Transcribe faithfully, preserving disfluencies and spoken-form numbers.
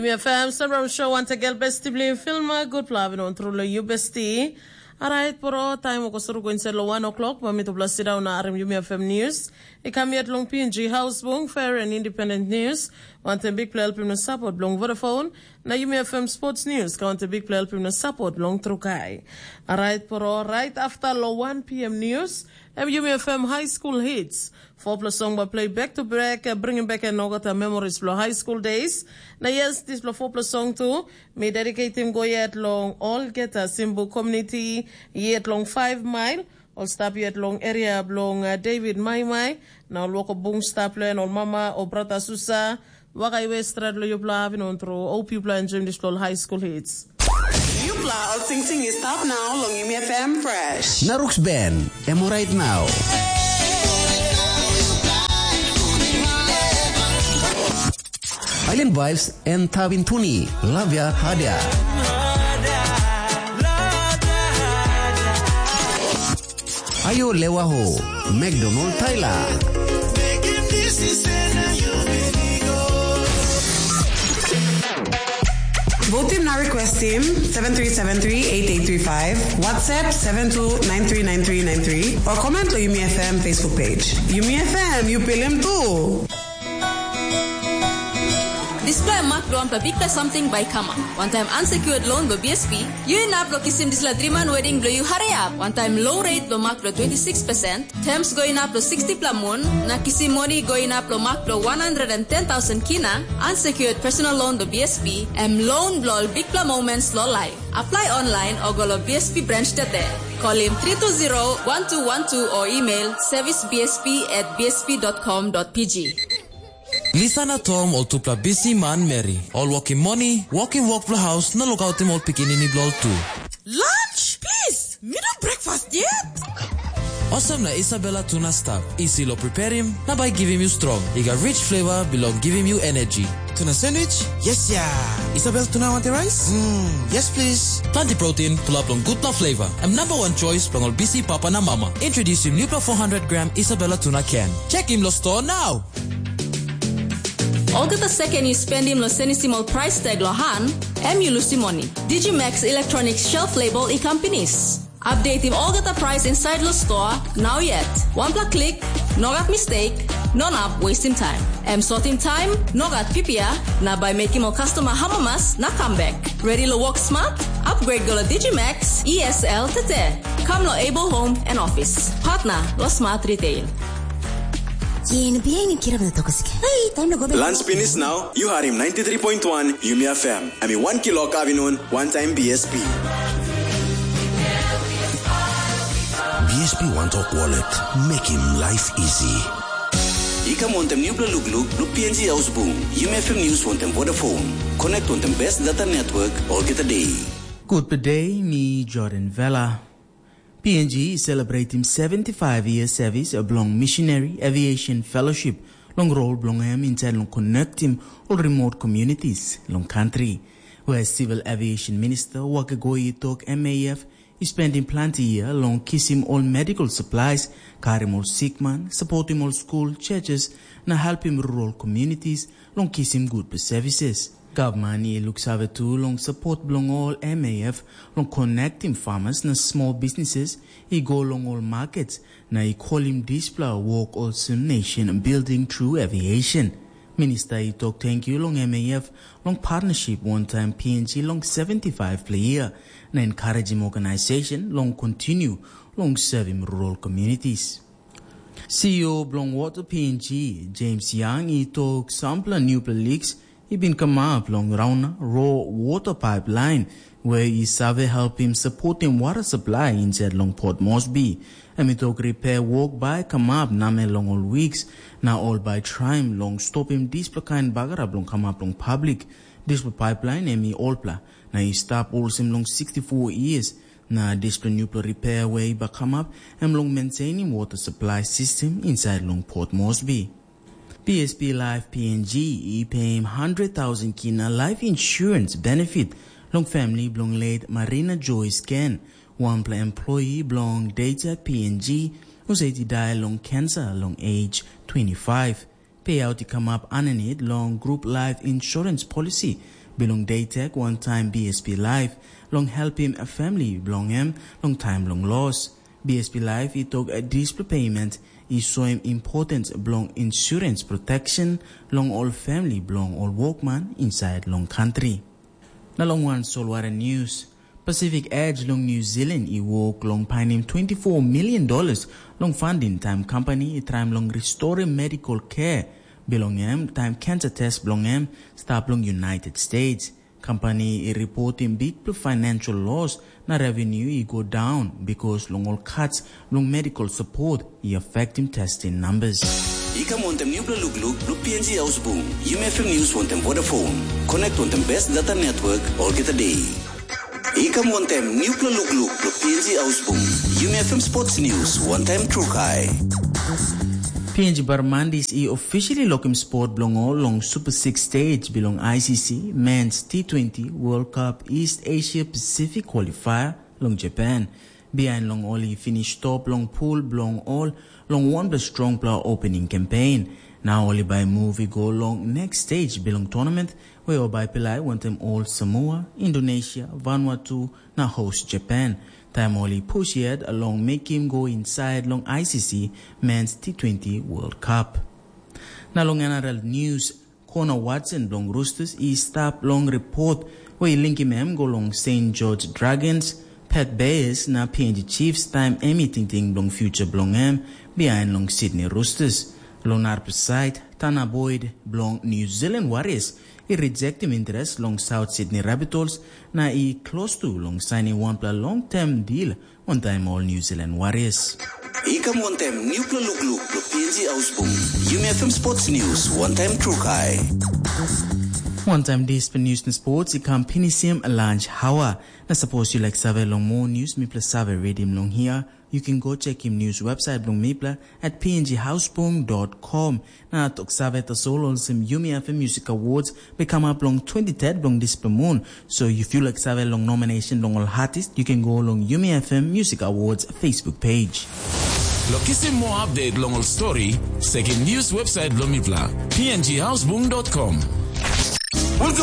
Mi FM Several Show wantegel besti bilong Filma, gutpela avinon tru long yu besti. Alright, poro, taim oko suru go inside lo one o'clock, ma mitupela sit down na arim yumi FM news. I kam yet long PNG House Bung, Fair and Independent News, wanten big play helpim na support bilong Vodafone, na yumi FM Sports News, ka wanten big play helpim na support bilong Trukai. Alright, poro, right after lo one PM news, em yumi FM High School Hits. Four plus song by play back to back, uh, bringing back an olgeta memories bilong high school days. Na yes, dispela four plus song tu, mi dedicating go yet long olgeta Simbu community, yet long five mile, ol stap yet long area bilong uh, David Maimai, na ol woko bung stap len ol mama o brata susa, waka iwe stret lo yupla avinon tru, hope yupla enjoying dispela high school hits. Yupla ol singsing i stap nau long Yumi FM Fresh. Na Rooks Ben, em orait nau. Island Vibes en Tavin Tuni, Lavia Hadia. Ayo Lewa Ho, McDonald Tyler. Vote team na request team seven three seven three eight eight three five, WhatsApp seven two nine three nine three nine three, or comment lo Yumi FM Facebook page. Yumi FM, you pilim too. Dispela em mak bilong wanpela bikpela samting bai i kamap. Wantaim unsecured loan bilong BSP, yu inap long kisim dispela driman wedding bilong yu hariap. Wantaim low rate bilong mak bilong twenty six percent, terms go inap long sixty pela mun, na kisim moni go inap long mak bilong one hundred and ten thousand kina, unsecured personal loan bilong BSP, em loan bilong ol bikpela moments long life. Apply online o go long BSP branch tete. Kolim three two zero one two one two o email service BSP at BSP dot com dot PG. Lisa na Tom ol tupela bisi manmeri, ol wokim moni, wokim wok bilong haus na lukautim ol pikinini bilong ol tu. Lunch? Please, mi no breakfast yet. Olsem na Isabella tuna stap, isi lo preparim, na bai givim yu strong. I gat rich flavor bilong givim yu energy. Tuna sandwich? Yes ya. Isabel tuna wanti rice? Mm, yes please. Planti protein, pulap long gutpela flavor. Em number one choice bilong ol bisi papa na mama. Introducing nupela four hundred gram Isabella tuna can. Check him lo store now. Olgeta seken yu spendim long senisim ol price tag lo han, em yu lusim moni. Digimax Electronics shelf label i kam pinis. Updatim olgeta price inside lo store, now yet. Wanpela klik, no gat mistake, no nap wastim time. Em sotim time, no gat pipia, na bai mekim ol customer hamamas na comeback. Ready lo work smart? Upgrade go lo Digimax ESL tete. Come lo Able Home and Office. Partner lo Smart Retail. Yen bihain kirap na tokos ke. Hey, time lo go back. Lunch finish now. You heard him ninety-three point one Yumi FM. Ami wan kilok avinun, wan taim BSP. BSP One Talk Wallet, making life easy. I kam wantem nupela lukluk, luk PNG Ausbung, Yumi FM News wantem Vodafone. Connect wantem best data network, olgeta day. Good day, mi Jordan Vela. PNG i celebrating seventy-five year service bilong Missionary Aviation Fellowship long rol bilong em inside long connectim ol remote communities long country, where Civil Aviation Minister Wakagoi i tok MAF i spending planti year long kisim ol medical supplies, karim ol sikman, supportim ol school, churches, na helpim rural communities long kisim good services. Gavman i luksave tu long support bilong ol MAF long connectim farmers na small businesses i go long ol markets, na i kolim dispela wok olsem nation building through aviation. Minister i tok tenkyu long MAF long partnership wantaim PNG long seventy-five pela year, na encouraging organization long continue long serving rural communities. CEO bilong Water PNG, James Young, i tok sampela nupela leaks i bin kamap long Rauna Raw Water Pipeline, where i save helpim supportim water supply inside long Port Moresby. Em i tok repair work bai kamap namel long ol weeks, na ol bai traim long stopim dispela kain bagarap long kamap long public. Dispela pipeline em i olpela, na i stap olsem long sixty-four years, na dispela nupela repair we i bakamap, em long maintainim water supply system inside long Port Moresby. PSP Life PNG i peim hundred thousand kina life insurance benefit long family bilong late Marina Joyce Ken, wanpela employee bilong Data PNG, husat i dai long cancer long age twenty-five. Payout i kamap aninit long group life insurance policy bilong Deitek wantaim B S P Life long helpim famili bilong em long taim bilong los. B S P Life i tok dispela payment i soim importans bilong insurance protection long ol famili bilong ol wokman insait long kantri. Na long wan solwara news, Pacific Edge long New Zealand i wok long painim twenty-four million dollars long funding taim company i traim long restorim medical care bilong em taim cancer test bilong em stap long United States. Company i reportim bikpela financial loss na revenue i go down because long ol cuts long medical support i affectim testing numbers. I kam wantaim nupela lukluk bilong P N G Ausbung, Yumi F M News wantaim Vodafone. Connect wantaim best data network olgeta day. I kam wantaim nupela lukluk bilong P N G Ausbung, Yumi F M Sports News wantaim Trukai. P N G Barmandis i officially lokim spot bilong ol long Super six stage bilong I C C Men's T twenty World Cup East Asia Pacific Qualifier long Japan. Bihain long ol i finish top long pool bilong ol long wanpela strongpela opening campaign. Na ol i bai move i go long next stage bilong tournament, where ol bai pilai wantaim ol Samoa, Indonesia, Vanuatu na host Japan. Taim ol i push yet long mekim go inside long I C C Men's T twenty World Cup. Na long N R L News, Connor Watson bilong Roosters i stap long report we i linkim em go long Saint George Dragons, Perth Bears na P N G Chiefs taim em i tingting bilong future bilong em bihain long Sydney Roosters. Long narapela sait, Tana Boyd bilong New Zealand Warriors i rejectim interes long South Sydney Rabbitohs na i klostu long sainim wanpela long-term deal wantaim ol New Zealand Warriors. I kam wantaim nupela lukluk bilong P N G Ausbung, Yumi F M Sports News wantaim Trukai. Wantaim dispela news na sports i kam pinisim lunch hour. Na sapos yu laik save long moa news mipela save redim long hia, you can go check him news website bilong mipela at P N G Hausbung dot com. Na tok save tasol olsem Yumi F M Music Awards bai kamap long twenty-third bilong dispela mun. So if you like save long nomination long ol artist, you can go long Yumi F M Music Awards Facebook page. Lo kisim moa update long ol story, sekim news website bilong mipela, P N G Hausbung dot com. Welcome